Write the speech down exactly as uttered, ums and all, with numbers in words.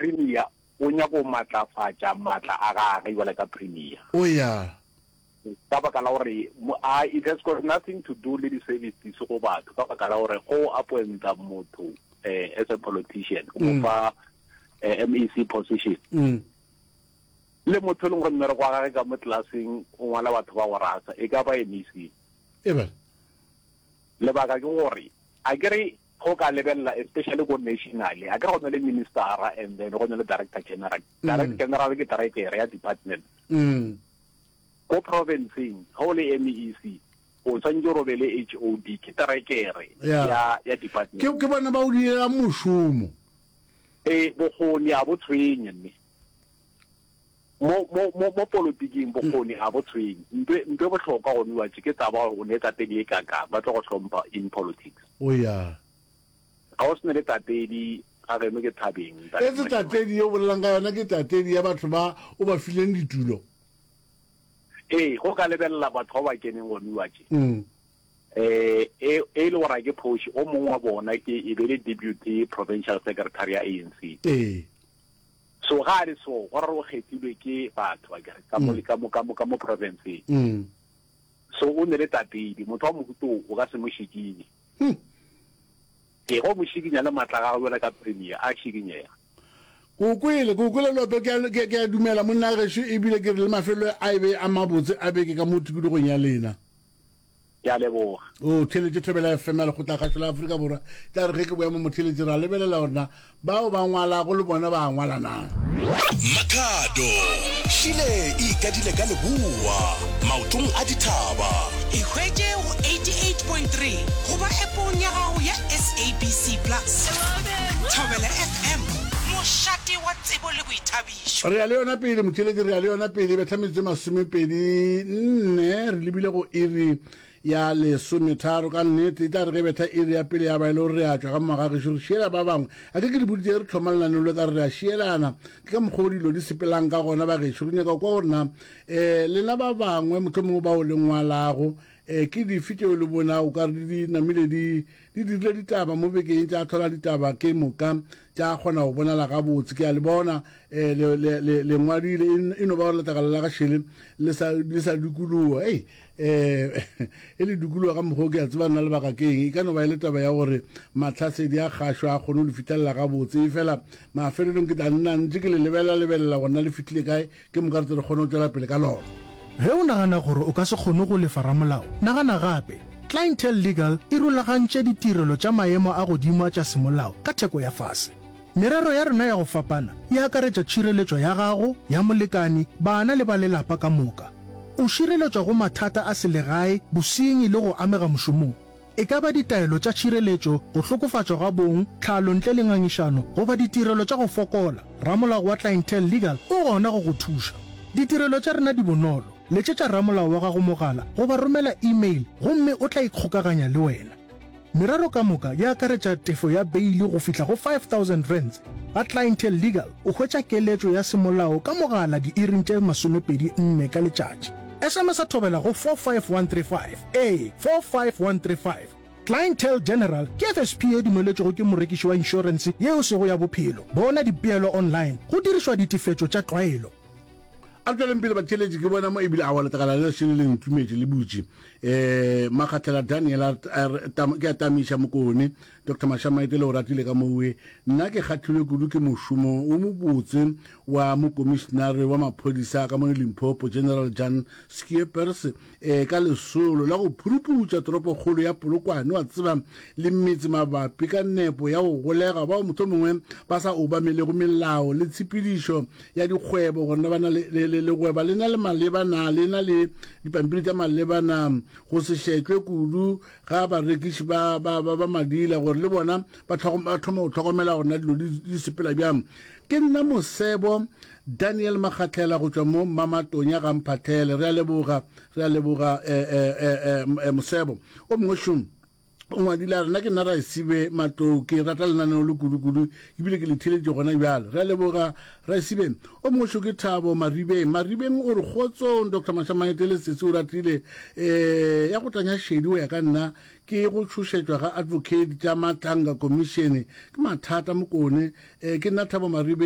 Premier o nyaka go matlafatša matla a gage jwale ka Premier. O ya. Ka baka la gore a it has got nothing to do le di-services go batho, ka baka la gore go appointa motho eh, as a politician, o mo fa eh, M E C position, Mm. le motho e leng gore mmereko wa gage ka mo tlelaseng o ngwala batho ba go rasa, e ka ba M E C. Eba. Lebaka ke gore a kere go ka lebelela, especially ko nationally, a kere go na le ministera and then go na le director general. Director general ke director ya department. Mm. Ko provinceng, ga o le M E C, o tshwanetse gore o be le H O D, ke director Yeah. ya ya department. Ke ke bona ba o direla mošomo. E bokgoni a bo tshwenye, mme mo mo mo mo politiking bokgoni a bo tshwenye. Ntwe ntwe bohlokwa go nwa ke taba gore o ne tatedi e kaka ba tlo go hlompha in politics. O ya. Ga o sene le tatedi ga geno ke thabeng. Etse tatedi ye o bolelang ka yona ke tatedi ya batho ba o ba fileng ditulo. Ee, go ka lebelela batho ba ba keneng go nwa tše, Mm. eh e e le gore a ke phoši, o mongwe wa bona ke e be le deputy provincial secretary ya A N C. Ee. So ga a le so, gore o kgethilwe ke batho ba kere ka mo ka mo ka mo ka mo provinceng. Mm. So o ne le tatedi, motho wa mohuto o ka se mo šikinye. Hmm. Ke go mo šikinya le matla a gagwe jwalo ka premier a šikinyega. Ko kwele, ko kwele lope, ke a- ke ke a dumela monna gešo, ebile ke re le mafelo a e be a mabotse a beke ka mo tikologong ya lena. Ke a leboga. O theletše Thobela F M ya Lekgotlakgašo la Afrika Borwa. Tla re ge ke boya mo motheletše ra lebelela gore na bao ba ngwalago le bona ba ngwala na. Makhado šile e ikadile ka leboa maotong a dithaba. E hwetše go eighty-eight point three goba appong ya gago ya S A B C Plus. Thobela F M, mošate wa tsebo le boithabišo. Re ya le yona pele motheletše, re ya le yona pele. Betha metsotso e masomepedi nne re lebile go iri ya lesometharo. Ka nnete e tla re ge betha iri ya pele ya ba e le gore re a tšwa ka mogagešo, re šiela ba bangwe. A ke ke le boditse re thoma lenaneo le ka re re a šielana, ke ka mokgwa o dilo di sepelang ka gona. Bagešo, re nyaka go kwa gore na um lena ba bangwe motlho mongwe bao le ngwalago, um ke dife tšeo le bonago ka re di namile di di dirile ditaba mo bekeng, tša tlhola ditaba ke moka tša kgona go bonala gabotse. Ke a le bona um le ngwadile, e no ba gore letlakala la gašele le sa le sa dikologa. Ei, um e le dikologa ka mokgwa o ke a tseba nna lebaka ke eng. E ka no ba e le taba ya gore matlhasedi a kgašo a kgone go le fitlhelela gabotse, e fela mafelelong ke tla nna ntse ke le lebelela lebelela gona le fitlhile kae, ke moka re tse re kgone go tswela pele ka lona. Ge o nagana gore o ka se kgone go lefa ramolao, nagana gape. Clientele Legal e rulagantše ditirelo tša maemo a godimo a tša semolao ka theko ya fase. Merero ya rena ya go fapana e akaretša tšhireletšo ya gago, ya molekane, bana le ba lelapa ka moka. O šireletšwa go mathata a selegae, bosenyi le go amega mošomong. E ka ba ditaelo tša tšhireletšo, go hlokofatšwa ga bong, tlhalo ntle le ngangišano goba ditirelo tša go fokola, ramolao wa Clientele Legal o gona go go thuša. Ditirelo tša rena di bonolo. Letšetša ramolao wa gago mogala goba romela email gomme o tla ikgokaganya le wena. Merero ka moka e akaretša tefo ya beile go fihla go five thousand rands. Ga Clientele Legal o hwetša keletšo ya semolao ka mogala diiring tše masomepedi nne ka letšatši. S M S a thobela go four five one three five, ee, four five one three five. Clientele General ke F S P e dumeletšwego ke morekiši wa inšorense yeo sego ya bophelo. Bona dipeelo online go dirišwa ditefetšo tša tlwaelo. A re tsweleng pele batheletši. Ke bona mo ebile awa letlakala le šele le ntumetše le butše. um Makgathela Daniel a re, tam- ke a tamiša Mokone Doctor Mashamaite le o ratile ka mowe. Nna ke kgathilwe kudu ke mošomo o mobotse wa mokomišenare wa maphodisa ka mo Limpopo, General Jan Skeepers, um ka lesolo la go phuruputša toropokgolo ya Polokwane, wa tseba, le metse mabapi ka nepo ya go golega bao mohlomongwe ba sa obamelego melao le tshepedišo ya dikgwebo, gore na ba na le le- le- legweba le na le maleba na le na le dipampiri tša maleba na, go se šetšwe kudu ga barekiši ba ba ba ba madila, gore le bona ba tlhogo- ba thoma go tlhokomela gore na dilo di di sepela bjang. Ke nna Mosebo Daniel Makgatlhela go tšwa mo Mamatonya ga Mphatlhele. Re a leboga, re a leboga eh, eh, eh, eh, Mosebo. O mongwe šomo o ngwadile a rena: ke nna Raesibe Matlou, ke rata lenaneo le kudu-kudu ebile ke le theletše gona bjale. Re a leboga, Raesibe. O mongwe šo ke Thabo Maribeng. Maribeng o re: kgotsong Doctor Mashamaete le sese o ratile. um ya go tanya šedi o ya ka nna ke go tšhošetšwa ga advocate tša Matlanga Commission, ke mathata Mokone. um ke nna Thabo Maribeng.